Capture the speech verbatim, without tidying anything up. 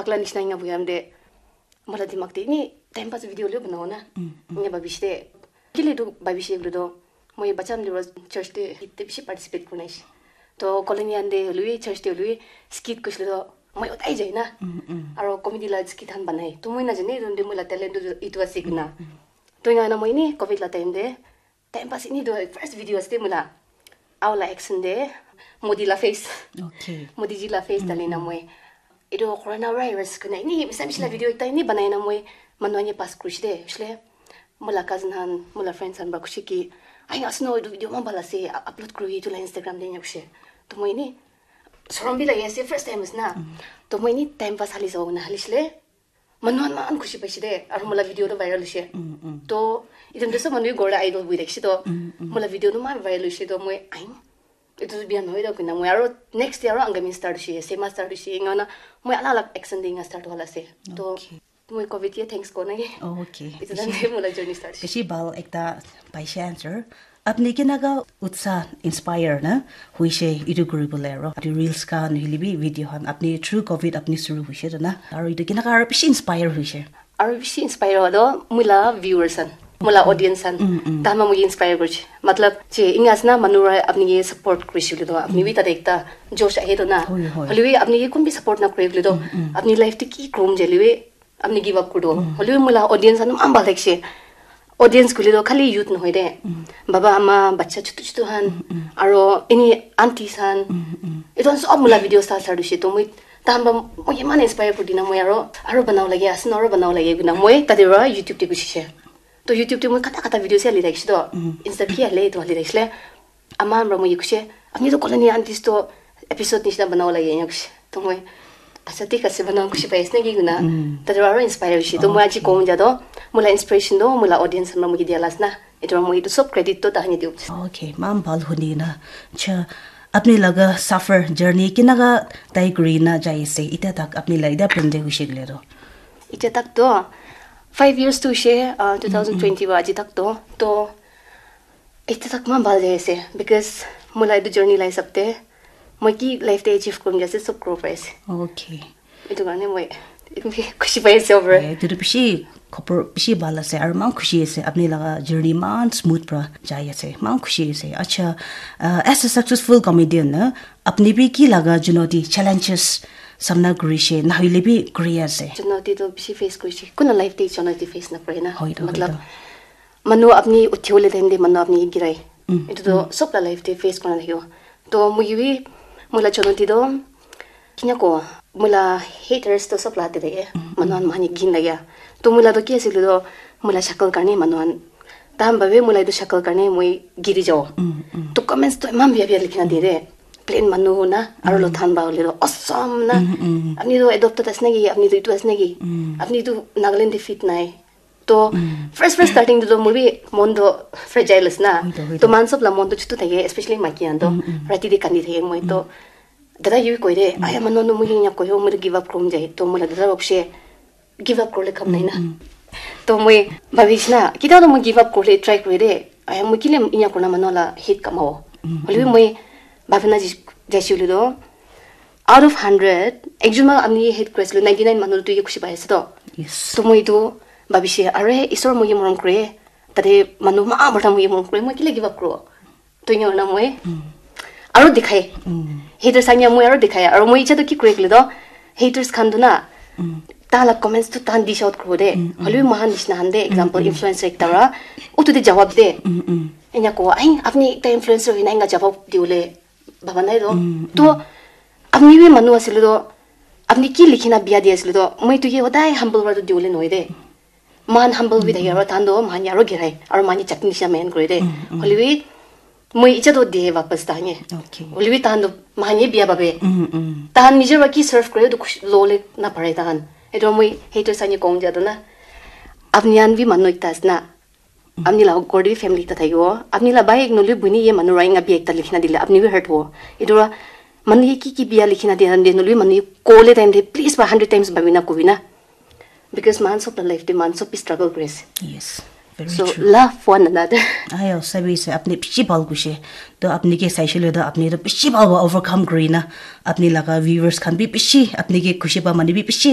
Pakla nishina inga buhi amde. Mola dimak te ini time pass video le banao na. Inga babish de. Kile tu babish le do. Moi bacha amde church de, te bishi participate kurna ishi. To colony ande lui, church de lui, skit kush le do. Moi otai jai na. Aro comedy la skit han banai. To moi na jane, donde moi la talent tu itu ase kina. To inga na moi ini covid la time de. Time pass ini do first video ase moi la. Au la action de. Modi la face. Okay. Modi ji la face dali na moi. Itu corona virus kuna ini bisa bisa video ekta ini banai na moi. Manu ani pass kushi de. Shle. Moi la cousin han, moi la friends han ba kushi ki. Ai asno itu video ma bala se upload kuri itu la Instagram de nyakushe. To moi ini. Sorom bi lagi ase first time is na. To moi ini time pass hali sa na hali shle. Manu han man khushi paise de, aru mola video tu viral hoise. To itum de sob manu ghor la idol bui thakise to, mola video tu man viral hoise to moi aim. Itu tu biya nohoi do kuna moi aru next day aru Angami start hoise, Sema start hoise, ingana moi alag alag action de inga start hola ase. To Okay. Moi covid ye thanks ko nage. Okay. Itu dan de mola journey start hoise. Bishi bhal ekta paise answer. Apni kenaga utsa inspire na huise itu kuribole aro itu reels khan hilibi video khan apni through covid apni suru huise to na aro itu kenaga aro bishi inspire huise. Aru bishi inspire hodo mula viewers han, mula audience han. Tama moi inspire kurche. Matlab che inga asna manu ra apni ke support kurise le do apni bi tate ekta josh ahe to na. Hoi, hoi. Hoile bi apni ke kun bi support na kure le do. Apni life te ki krom jale bi apni give up kuri do. Hoile bi mula audience han man bhal thakise. Audience kuli do khali youth nohoi de. Baba ama bacha chutu chutu han aro any aunties han. Itu han sob mula video star star dushe to moi tahan ba moi iman inspire kuri dina moi aro aro banao lage asin aro banao lage guna moi tate ra YouTube te gushi she. To YouTube te moi kata kata video se ali thakise to Insta ki ale to ali thakisle. Ama amra moi kushe, apni to colony aunties to episode nishina banao lage ena kushe. To moi, acha thik ase banao kushi pai ase naki kuna. Tadra aro inspire kushe. To moi aji kom jado, mula inspiration do, mula audience amra moi dia las na. Etu moi itu sob credit to tahani diu. Okay, mam bhal huni na. Cha, apni laga suffer journey kinaga tai kuri na jai ase. Ita tak apni la ida pende kushe gile ro. Ita tak to five years to she, uh, two thousand twenty wa aji tak to. To Etu tak man bhal jai ase because moi la etu journey la hisab te moi ki life te achieve kurim jai ase sob kuro pai ase. Okay. Etu karne moi khushi pai ase over. Eh, etu tu bishi khobor bishi bhal ase aru man khushi ase apni laga journey man smooth pra jai ase man khushi ase. Acha, uh, as a successful comedian na apni bi ki laga chunauti challenges samna kurishe nahoile bi kuri ase. Chunauti to bishi face kurishe. Kuna life te chunauti face na kore na. Hoi to, hoi Matlab, to. Manu apni uthi bole time te manu apni girai. Etu to sob la life te face kurna thakibo. To moi bi moi la chonoti to kinya ko moi la haters to sob la te thake. Manu khan mani gin lage. To moi la to ki ase koile to moi la shakal karne manu khan tahan bhabe moi la etu shakal karne moi giri jabo. To comments to eman bia bia likhina de de. Plain manu na aro lo than ba hole to awesome na. Apni to adopted ase naki, apni to itu ase naki. Apni to Nagaland te fit nai. To first first starting to moi bi mon to fragile ase na. Hoi to, hoi To man sob la mon to chutu thake, especially maiki khan to rati de kandi thake moi to. Dada yu koi de, aya manu no moi nya koi ho, moi to give up kurim jai. To moi la dada bapshe give up kurle kam nai na. To moi bhabish na, kita to moi give up kurle try koi de. Aya moi kile inya kurna manu la hate kamabo. Hoile bi moi bhabina jai- jaisi le to out of hundred, ekjon manu apni ke hate kuri ase le, ninety nine manu tu ye khushi pai ase to. Yes. To moi etu bhabishe, are Isor moi ke morom kure, tate manu ma borta moi ke morom kure, moi kile give up kuro. To enya na moi aro dikhai. Haters anya moi aro dikhai. Aro moi icha to ki kure kile to, haters khan tu na, ta la comments tu tan dish out kuro de. Hoile bi mohan nishina han de, example, influencer ekta ra, utu de jawab de. Enya ko, ai, apni ekta influencer hoina enga jawab diwole bhaba nai to. To apni bi manu asile to, apni ki likhina bia di asile to, moi tu ke hodai humble word diwole nohoi de. Man humble bi thake aro tan to man aro girai aro man chutney nisha main kore de. Hoile bi moi icha to de wapas ta nye. Okay. Hoile bi tan to man bia babe. Mm, mm. Tahan nijer ba ki serve kore to khush- lole na pare tahan. Etu moi haters ani kong jado na. Apni khan bi manu ekta ase na. Apni la ghor te bi family ekta thakibo. Apni la bhai ek nahole bhoni ye manu ra enga bi ekta likhina dile apni bi hurt hobo. Etu ra manu ye ki ki bia likhina dia time te nahole bi manu ye kole time te please ba hundred times bhabina kobi na. Because man sob la life te man sob bi struggle kuri ase. Yes. Very So true. Love one another. Ayo, sabi se apni bishi bhal kuishe. To apni ke saishe le to apni to bishi bhal wa overcome kuri na. Apni laga viewers khan bi bishi apni ke khushi pa manu bi bishi